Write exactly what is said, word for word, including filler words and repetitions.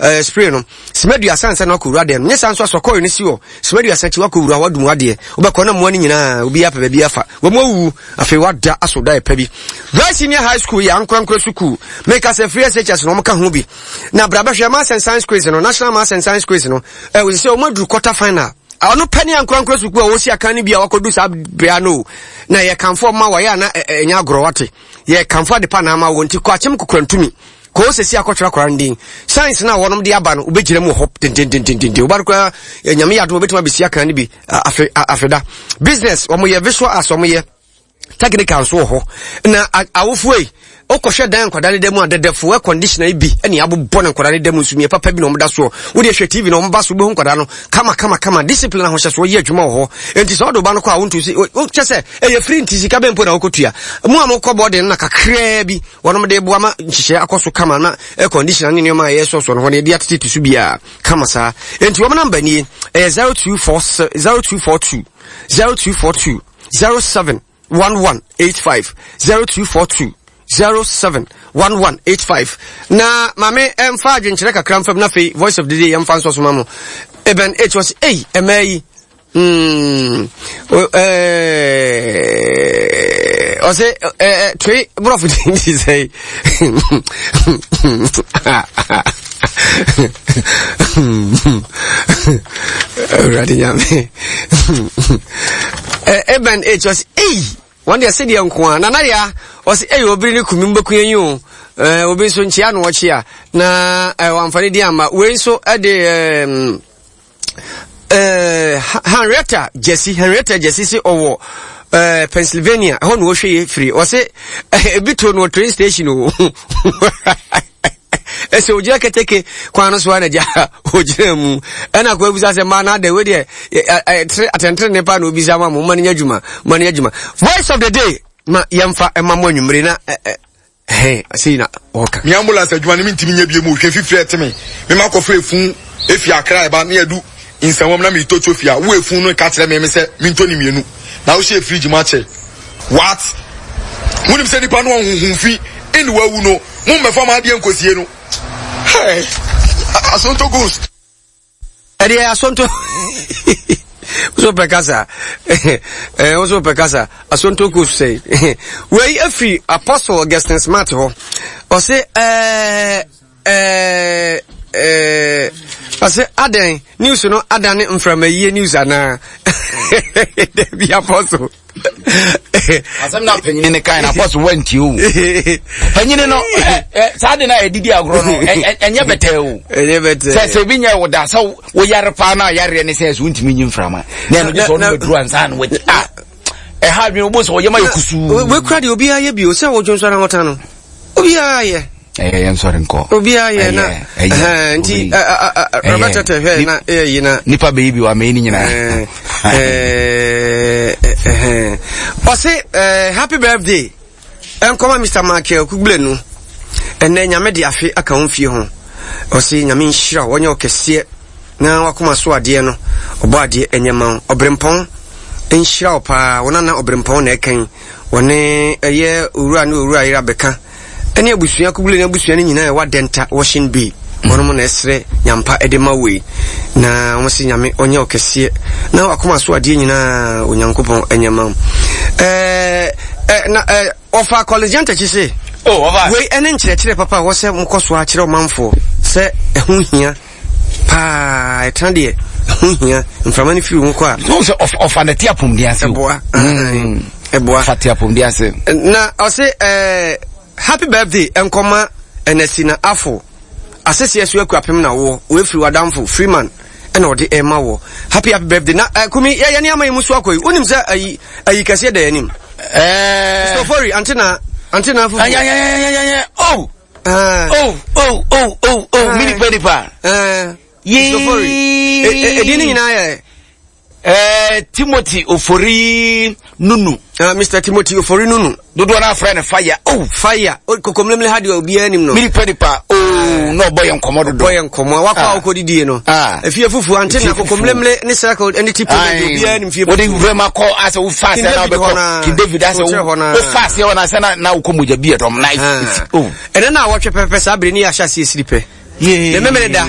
uh, spray no sima aduasa ansa na wakɔwura dɛm. Nyɛ saa nso asɔkɔre no si hɔ sima aduasa akyi wakɔwura wadum adeɛ, wobɛkɔ na mmoa no nyinaa obi apɛ baabi afa wɔn awuwu. Afei wada aso da ɛpɛ bi. Bright Senior High School yɛ ankorankora sukuu, meka sɛ free S H S na wɔn ka ho bi na bra bɛhwɛ Maths and Science quiz no, National Maths and Science quiz no. Ɛwɔ sɛ wɔn aduru quarter final. Ɔno pɛ ne ankorankora sukuu a wɔsi akan no bi a wakɔdu saa bea no na yɛ kamfo ma wɔyɛ ana ɛnyɛ agorɔ wate. Yɛ kamfo ade pa na ama wɔn nti kɔ akyem kokora ntumi kò ó sɛsi akɔtwerɛ akɔra no din science na wɔnom de aba no, wobɛgyina mu wɔ hɔ dendendendenden. Wobade koraa, Nyame yɛ adom, wobɛtumi abɛsi akan no bi afe afeda. Business wɔn yɛ, visual arts wɔn yɛ, technical nso wɔ hɔ. Na awofoɔ yi wokɔhwɛ dan nkwadaa no da mu a, dɛdɛfo air conditioner yi bi ɛne abobɔ ne nkwadaa no da mu nso papa bi na ɔmo da soɔ. Wode hwɛ T V na ɔmo ba so, wobɛhu nkwadaa no kama kama kama. Discipline ahohyɛsoɔ yɛ adwuma wɔ hɔ. Enti sɛ ɔde ba no kɔ a, wontu si kyɛ sɛ ɛyɛ free, nti sika bɛn mpo na wokɔtua mu a mokɔ bɔɔden no na kakraa bi wɔnom de boa ma nhyehyɛ akɔ so kama na air conditioner ne nneɛma a ɛyɛ sɔsɔ no hɔ no yɛde atetete so biara kama saa. Enti wɔn number nie, ɛyɛ zero two four zero two four two zero two four two zero seven one one eight five, zero two four two zero seven one one eight five. Na maame ɛmfa adwenkyerɛ kakra mfam na afei voice of the day yɛmfa nsɔ so ma mo. Eben H wɔ sɛ ei, ɛmɛ yi mm, ɔsɛ ɛɛ toe borɔfo ti sɛ Awurade Nyame. Eben H ɔsɛ ei, wɔn deɛ sɛdeɛ nko a nana ya ɔsɛ ei, obiri ne kumi mbɛku yɛn yi o. Ɛɛ obi nso nkyia na ɔkyia na ɛɛ wamfa ne di ama. Wei nso ɛde ɛɛm ɛɛ Henrietta Jesse, Henrietta Jesse si ɔwɔ ɛɛ Pennsylvania ɛhɔ na ɔhwɛ yɛ firi. Ɔsɛ ebi to no wɔ train station o, ɛsɛ ogyina keteke kwan no so a na gya ogyina mu ɛna kɔ ebisa sɛ mmaa na ada wei deɛ atɛntere ne pa na obisa ma mo ma no nyɛ adwuma, ma no nyɛ adwuma. Voice of the day ma yɛmfa ɛma mo anwummere na ɛhɛn sei na ɔka. Mi ambulance adwuma no mi ntumi nyɛ bie mu. Hwɛ, fifiri ɛte mi mi ma kɔfɛ efun efi Akra ɛba ne yɛdu Nsɛnwam na mi to tso fia wo efun no ka kyerɛ mi mi sɛ mi nto ne mienu na wohyɛ fridge mu akyɛ. What? Munim sɛ nipa no ɔhuhun fi ɛna wawu no, mo mbɛfa mo adeɛ nkosie no. Hey, Asonto Ghost. Ɛdeɛ Asonto so pɛ kasa ɛɛ woso pɛ kasa. Asonto Ghost sɛ wei efiri Apostle Augustine Smart hɔ. Ɔse ɛɛ ɛɛ ɛɛ ɔse adan news no adane mframayie news anaa? Dabi, Apostle. Asɛm na panyini ne kan na Apostle wantie o. Panyini no saa de no a yɛdidi agorɔ no ɛnyɛ bɛtɛɛ o. Ɛnyɛ bɛtɛɛ. Sɛ sɛ ebi nyɛ wo da sɛ woyare paa na yareɛ ne sɛ sɛ wontumi nyi mframa na ɛno gye sɛ ɔno bɛduru ansa na wati a ɛha adwene wobɔ sɛ ɔyɛma yɛ kusuu. Wekura deɛ obiara yɛ bio sɛ wodwo nso ara wɔta no obiara yɛ. Ɛyɛ yɛn sɔre nkɔ. Obiara yɛ na nti Robert tɛ hwɛ na ɛyɛ yi na. Nipa bɛyi bi wa mɛ ni nyinaa. Ɔse happy birthday ɛnkɔma Mister Michael Kugbule. Ɛnɛ Nyame de afe aka wo mfie ho. Ɔse Nyame nhyira wo, ɔnyɛ ɔkɛseɛ na wakoma so adeɛ no ɔbɔ adeɛ ɛnyɛ ma wo. Ɔberempɔn nhyira wo paa. Wo nana Ɔberempɔn na ɛkan wɔne ɛyɛ owura ne owura yere abɛka ɛne abusua Kugbule ne abusua no nyinaa ɛwɔ Adɛnta Washing Bay. Wɔnom na ɛsrɛ nyampa ɛde ma wei na wɔn sɛ Nyame ɔnyɛ ɔkɛseɛ na wakoma so adeɛ nyinaa Onyankopɔn ɛnyɛ ma wo. ɛɛ ɛ na ɛ ɔfa College akyi se oh ɔfa wei ɛne nkyerɛkyerɛ papa a wɔsɛ mokɔ so akyerɛ ɔmanfoɔ sɛ ɛho hia paa. Ɛtena deɛ ɛho hia mframa no firi ho kɔ a. Sɛ ɔfa ne te apɔmuden ase. Ɛboa, ɛboa. Ɔfa te apɔmuden ase. Na ɔse ɛɛ happy birthday nkɔma ɛnɛsi na afo aseseɛ so akuapem na woɔ woefiri wadamfo Freeman ɛna ɔde ɛma wɔ. Happy happy birthday. Na uh, Kumi, yɛyɛ ne ama yi mu so akɔ yi, wonim sɛ ayi ayi kɛseɛ da yɛn anim. Ɛɛ Sofori ante na ante na fufu. Ayayayayaya, oh oh oh oh oh oh, mi nipa nipa. Yee Sofori edin ne nyinaa yɛ. Ɛɛ Timothy Ofori Nunu. Uh, Mister Timothy Ofori Nunu. Dodoɔ naa frɛ no Fire. Oh, Fire kokomlemle ha deɛ obiara nim no. Mi nipa nipa oh, na ɔbɔ yɛn nkɔmɔ dodo. Ɔbɔ yɛn nkɔmɔ wakɔ a ɔkɔ didie no. Efie fufu ante na kokomlemle ne circle ne ti pole deɛ obiara nim fie fufu. Wode wura ma kɔ asɛ wo fa asɛ na wobɛkɔ King David asɛ wo wo fa asɛ hɔ na asɛ na na wokɔ mogya bi ɛdɔm na oh. Ɛnɛ na awɔtwe pɛpɛ saa bere ne yɛ ahyɛ aseɛ siri pɛ. Ne memene da.